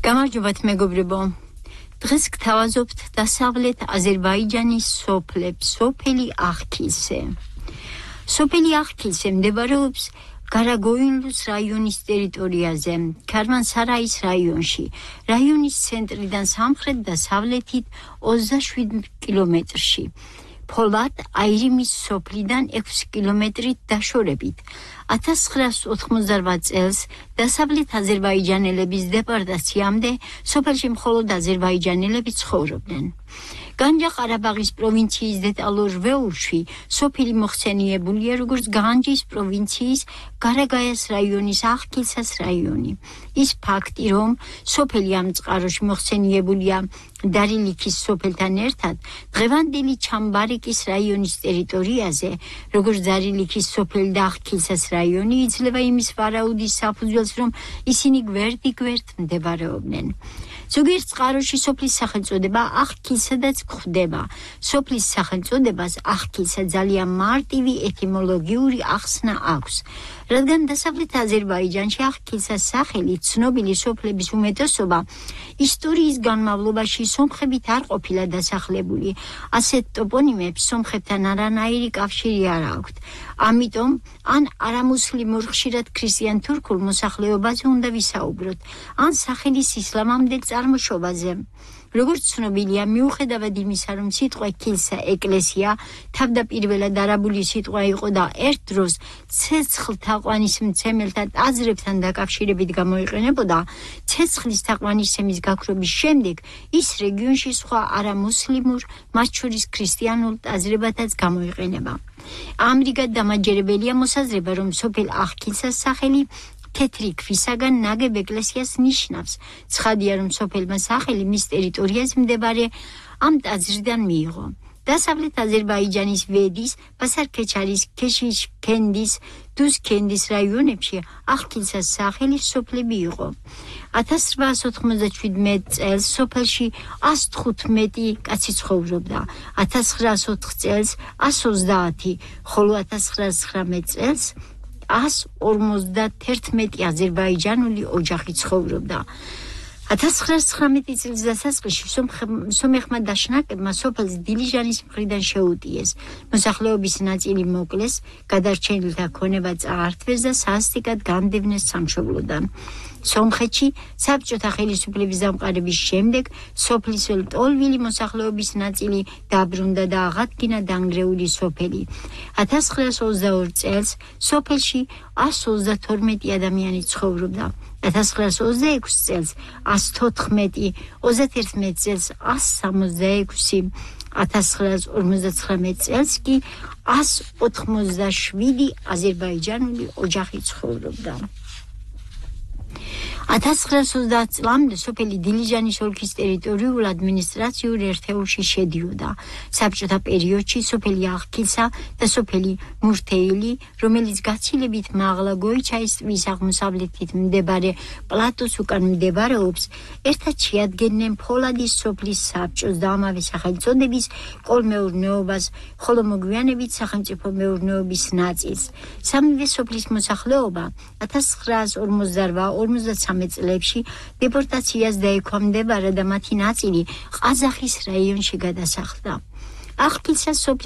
გამარჯობათ მეგობრებო. დღეს გთავაზობთ დასავლეთ აზერბაიჯანის სოფელი ახქილსე. სოფელი ახქილსე მდებარეობს გარაგოინლუს რაიონის ტერიტორიაზე, ქარვანსარაის რაიონში. რაიონის ცენტრიდან სამხრეთ და დასავლეთით 27 კილომეტრში. ფოლად აირიმის სოფლიდან 6 კილომეტრით დაშორებით. 1988 წელს დასავლეთ აზერბაიჯანელების დეპორტაციამდე სოფელში მხოლოდ აზერბაიჯანელები ცხოვრობდნენ. განჯა-ყარაბაღის პროვინციის დეტალურ ვეურში სოფელი მოხსენიებულია როგორც განჯის პროვინციის გარაგაიას რაიონის ახქილსას რაიონი. ის ფაქტი, რომ სოფელი ამ წყაროში მოხსენიებულია დარილიქის სოფელთან ერთად, დღევანდელი ჩამბარიკის რაიონის ტერიტორიაზე, როგორც დარილიქის სოფელი და ახქილსას რაიონი, იძლევა იმის ვარაუდის საფუძველს, რომ ისინი გვერდიგვერდ მდებარეობდნენ. ზოგიერთ წყაროში სოფლის სახელწოდება ახქილსადაც გვხვდება. სოფლის სახელწოდებას ახქილსა ძალიან მარტივი ეტიმოლოგიური ახსნა აქვს. რადგან დასავლეთ აზერბაიჯანში ახქილსას სახელი ცნობილი სოფლების უმეტესობა ისტორიის განმავლობაში სომხებით არ ყოფილა დასახლებული. ასეთ ტოპონიმებს სომხებთან არანაირი კავშირი არ აქვთ. ამიტომ ან არამუსლიმურ ხშირად ქრისტიან თურქულ მოსახლეობაზე უნდა ვისაუბროთ, ან სახელის ისლამამდელ წარმოშობაზე. როგორც ცნობილია, მიუხედავად იმისა, რომ სიტყვა ქილსა ეკლესია თავდაპირველად არაბული სიტყვა იყო და ერთ დროს ცეცხლ თაყვანის მცემელთა ტაძრებთან დაკავშირებით გამოიყენებოდა, ცეცხლის თაყვანისცემის გაქრობის შემდეგ ის რეგიონში სხვა არამუსლიმურ, მათ შორის ქრისტიანულ ტაძრებათაც გამოიყენება. ამრიგად დამაჯერებელია მოსაზრება, რომ სოფელ ახქილსას სახელი თეთრი ქვისაგან ნაგებ ეკლესიას ნიშნავს. ცხადია, რომ სოფელმა სახელი მის ტერიტორიაზე მდებარე ამ ტაძრიდან მიიღო. დასავლეთ აზერბაიჯანის ვედის, ბასარ-ქეჩარის, ქეშიშ ქენდის, დუზქენდის რაიონებში ახქილსას სახელი სოფლები იყო. 1897 წელს სოფელში 115 კაცი ცხოვრობდა, 1904 წელს 130, ხოლო 1919 წელს 151 აზერბაიჯანული ოჯახი ცხოვრობდა. 1919 წლის დასაწყისში სომეხმა დაშნაკებმა სოფელს დილიჟანის მხრიდან შეუტიეს. მოსახლეობის ნაწილი მოკლეს, გადარჩენილთა ქონება წაართვეს და სასტიკად განდევნეს სამშობლოდან. სომხეთში საბჭოთა ხელისუფლების დამყარების შემდეგ სოფლის ლტოლვილი მოსახლეობის ნაწილი დაბრუნდა და აღადგინა დანგრეული სოფელი. 1922 წელს სოფელში 132 ადამიანი ცხოვრობდა. 1926 წელს 114, 31 წელს 166, 1959 წელს კი 187 აზერბაიჯანული ოჯახი ცხოვრობდა. 1930 წლამდე სოფელი დილიჟანის ოლქის ტერიტორიულ ადმინისტრაციულ ერთეულში შედიოდა. საბჭოთა პერიოდში სოფელი ახქილსა და სოფელი მურთეილი, რომელიც გაცილებით მაღლა გოიჩაის ტბის აღმოსავლეთით მდებარე პლატოს უკან მდებარეობს, ერთად შეადგენდნენ ფოლადის სოფლის საბჭოს და ამავე სახელწოდების კოლმეურნეობას, ხოლო მოგვიანებით სახელმწიფო მეურნეობის ნაწილს. სამივე სოფლის მოსახლეობა 1958-53 წლებში დეპორტაციას დაექვემდებარა და მათი ნაწილი ყაზახის რაიონში გადასახლდა. ახქილსას სოფლის